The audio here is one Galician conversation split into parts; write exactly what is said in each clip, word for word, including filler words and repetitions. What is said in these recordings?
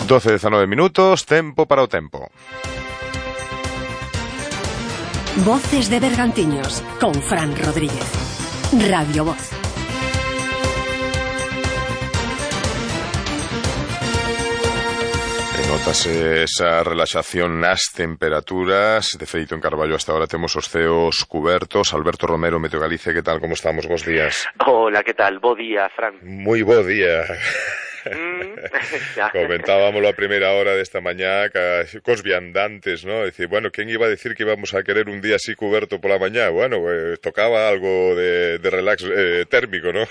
doce e dezanove minutos, tempo para o tempo. Voces de Bergantiños, con Fran Rodríguez. Radio Voz. Notase esa relaxación nas temperaturas. De feito, en Carballo hasta ahora temos os ceos cubertos. Alberto Romero, Meteo Galicia, que tal, como estamos? Bos días. Hola, que tal? Bo día, Fran. Moi bo día. Mm, Comentábamos a primeira hora desta mañá cos viandantes, ¿no? Decir, bueno, quen iba a decir que íbamos a querer un día así cuberto pola mañá? Bueno, eh, tocaba algo de, de relax eh, térmico, ¿no?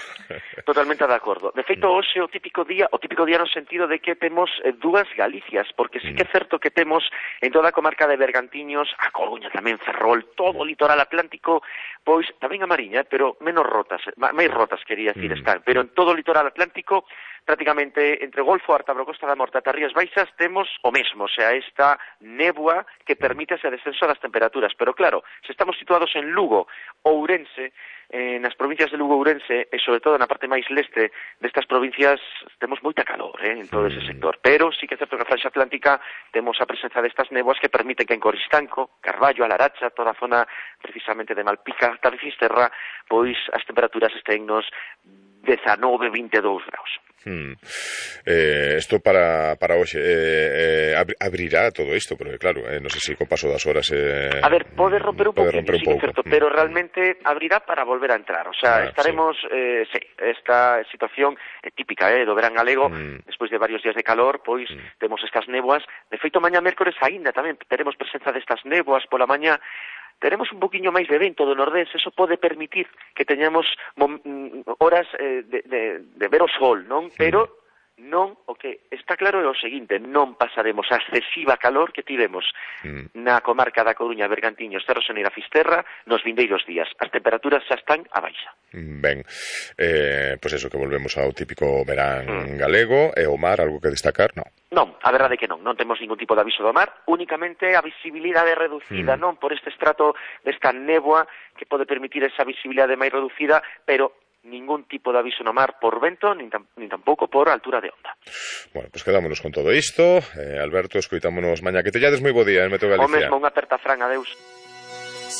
Totalmente de acordo. De feito, hoxe o típico día, o típico día no sentido de que temos eh, dúas Galicias, porque sí que é certo que temos en toda a comarca de Bergantiños, a Coruña tamén, Ferrol, todo o litoral atlántico, pois tamén a Mariña, pero menos rotas, máis rotas quería decir mm. están, pero en todo o litoral atlántico prácticamente entre Golfo, Ártabro, Costa da Morte ata Rías Baixas temos o mesmo, o sea, esta néboa que permite ese descenso das temperaturas. Pero claro, se estamos situados en Lugo, Ourense, eh, nas provincias de Lugo e Ourense, e sobre todo na parte máis leste destas provincias, temos moita calor eh, en todo ese sector. Pero sí que é certo que na Franxa Atlántica temos a presenza destas néboas que permiten que en Coristanco, Carballo, a Laracha, toda a zona precisamente de Malpica, ata de Fisterra, pois as temperaturas estén nos dezanove, vinte e dous graus. Hmm. Eh, esto para, para hoxe eh, eh, abrirá todo isto, porque claro, eh, non sei se co paso das horas eh, a ver, pode romper un pouco, sí, un certo, pero realmente abrirá para volver a entrar, o sea, ah, estaremos sí. Eh, sí, esta situación é típica eh, do verán galego, mm. despois de varios días de calor, pois mm. temos estas néboas. De feito, mañá mércores aínda tamén teremos presenza destas néboas pola mañá. Teremos un poquinho máis de vento do nordés, eso pode permitir que teñamos horas eh, de, de, de ver o sol, non? Pero non, o que está claro é o seguinte, non pasaremos a excesiva calor que tivemos mm. na comarca da Coruña, Bergantiños, Cerro Xaneira, Fisterra, nos vindeiros días. As temperaturas xa están a baixa. Ben, eh, pois pues eso, que volvemos ao típico verán mm. galego, e o mar, algo que destacar, non? Non, a verdade é que non, non temos ningún tipo de aviso do mar, únicamente a visibilidade reducida, mm. non, por este estrato desta néboa que pode permitir esa visibilidade máis reducida, pero ningún tipo de aviso no mar por vento, nin, tam, nin tampouco por altura de onda. Bueno, pois pues quedámonos con todo isto. Eh, Alberto, escoitámonos mañá. Que te llades moi bo día, en Meteo Galicia. O mesmo, unha aperta, Fran, adeus.